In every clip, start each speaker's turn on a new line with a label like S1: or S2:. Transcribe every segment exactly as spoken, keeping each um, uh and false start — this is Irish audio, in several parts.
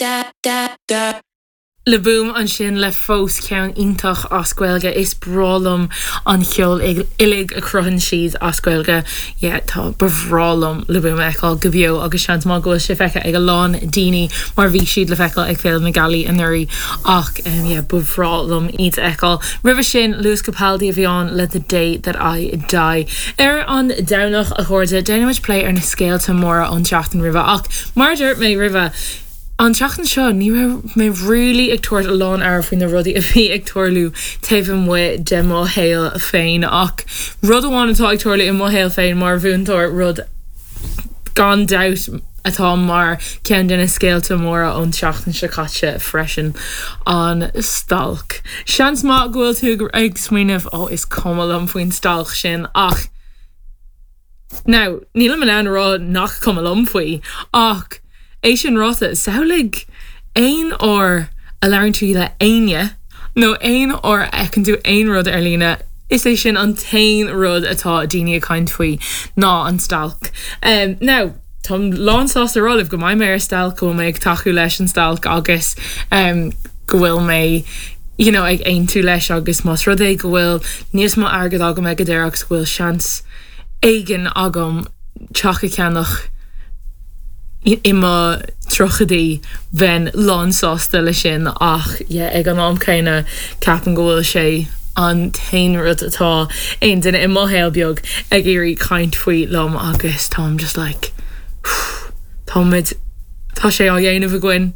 S1: da da da.
S2: Le Boom ansin le fós ceann iontach as Gaeilge is breá liom an ceol uilig a chruthaíonn siad as Gaeilge yeah, tá ba bhreá liom Le Boom a fheiceáil go beo agus seans maith go bhfuil sé feicthe ag a lán daoine mar bhí siad le feiceáil ag Féile na Gealaí anuraidh ach um, yeah, ba bhreá liom iad a fheiceáil. Roimhe sin Lewis Capaldi a bhí ann le the day that I die. Ar an Domhnach a chairde déanaimid plé ar na scéalta móra ón tseachtain roimhe ach mar dúirt mé roimhe An tseachtain seo ní raibh mé really ag tabhairt a lán aire faoi na rudaí a bhí ag tarlú taobh amuigh de mo shaol féin ach rud amháin atá ag tarlú i mo shaol féin mar mhúinteoir rud gan dabht atá mar ceann de na scéalta móra ón tseachtain seo caite freisin an stailc. Seans maith go bhfuil tú ag smaoineamh ó is cuma liom faoin stailc sin ach Now, nílim in ann a rá nach cuma liom faoi ach é sin ráite samhlaigh aon uair a labhraíonn tú le éinne nó aon uair a fheiceann tú aon rud ar líne is é sin an t-aon rud atá daoine ag caint faoi ná an stailc. Um, now, Táim lánsásta a rá libh go mbeidh mé ar stailc go mé ag tacú leis an stailc agus um, go bhfuil mé you know, ag aontú leis agus más rud é go bhfuil níos mó airgead agam ag an deireadh agus go bhfuil seans éigin agam teach a cheannach i mo tríochaidí bheinn lánsásta le sin ach yeah, ag an am céanna ceapaim go bhfuil sé an t-aon rud atá aon duine i mo shaol beag ag iarraidh caint faoi liom agus táim just like táimid tá sé á dhéanamh againn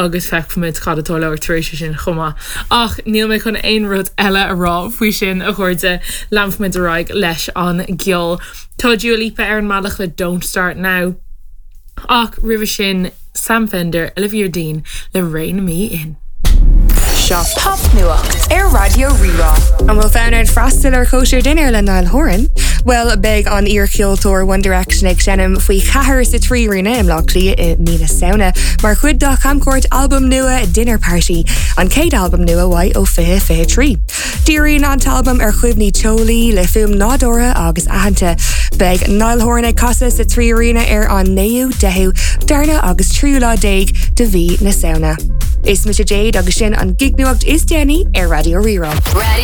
S2: agus feicfimid cad atá le tar éis sin chomh maith. Ach níl mé chun aon rud eile a rá faoi sin a chairde leanfaimid ar aghaidh leis an gceol. Tá Dua Lipa ar an mbealach le Don't Start Now. Ach roimhe sin Sam Fender, Olivia Dean le Rein Me In.
S3: Seo Popnuacht ar Raidió Rí-Rá.
S4: An bhfuil fonn ort freastal ar chóisir dinnéir le Niall Horan? Well beidh an iarcheoltóir One Direction ag seinm faoi cheathair sa Trí Aréna i mBleá Cliath i mí na Samhna, mar chuid dá chamchuairt albam nua Dinner Party, an chéad albam nua uaidh ó fiche fiche trí. Díríonn an t-albam ar chuimhní teolaí le fuaim nádúrtha agus aitheanta. Beidh Niall Horan ag casadh sa Trí Aréna ar an naoú deichiú darna agus tríú lá déag de mhí na Samhna. Is mise Jade agus sin an gignuacht is déanaí ar Raidió Rí-Rá.
S3: Radio